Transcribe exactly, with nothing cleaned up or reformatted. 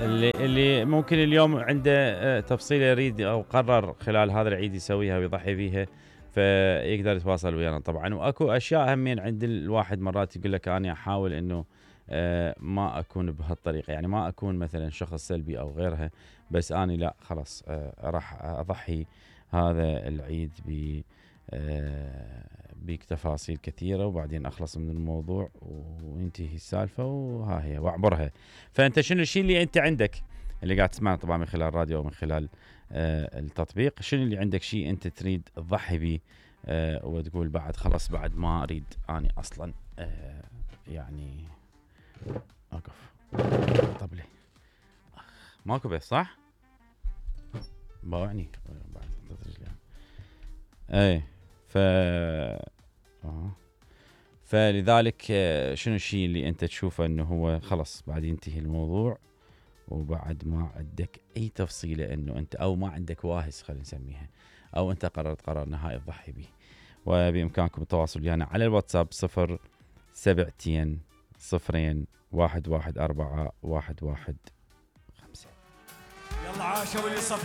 اللي اللي ممكن اليوم عنده تفصيله يريد او قرر خلال هذا العيد يسويها ويضحي بيها فيقدر يتواصل ويانا طبعا. واكو اشياء همين عند الواحد مرات يقول لك انا احاول انه ما اكون بهالطريقه، يعني ما اكون مثلا شخص سلبي او غيرها، بس اني لا خلاص راح اضحي هذا العيد ب بتفاصيل كثيره وبعدين اخلص من الموضوع وينتهي السالفه وها هي واعبرها. فانت شنو الشيء اللي انت عندك اللي قاعد تسمعنا طبعا من خلال الراديو او من خلال آه التطبيق، شنو اللي عندك شيء انت تريد تضحي به آه وتقول بعد خلاص بعد ما اريد اني اصلا آه يعني اقف طبلي ماكو بس صح باوعني بعد اي ف اه فلذلك شنو الشيء اللي انت تشوفه انه هو خلص بعد ينتهي الموضوع وبعد ما عندك اي تفصيله انه انت او ما عندك واهس خلينا نسميها او انت قررت قرار نهائي تضحي به. وبامكانكم التواصل ويانا يعني على الواتساب صفر سبعتين صفرين واحد واحد أربعة واحد واحد خمسة. يلا عاشوا اللي صفقوا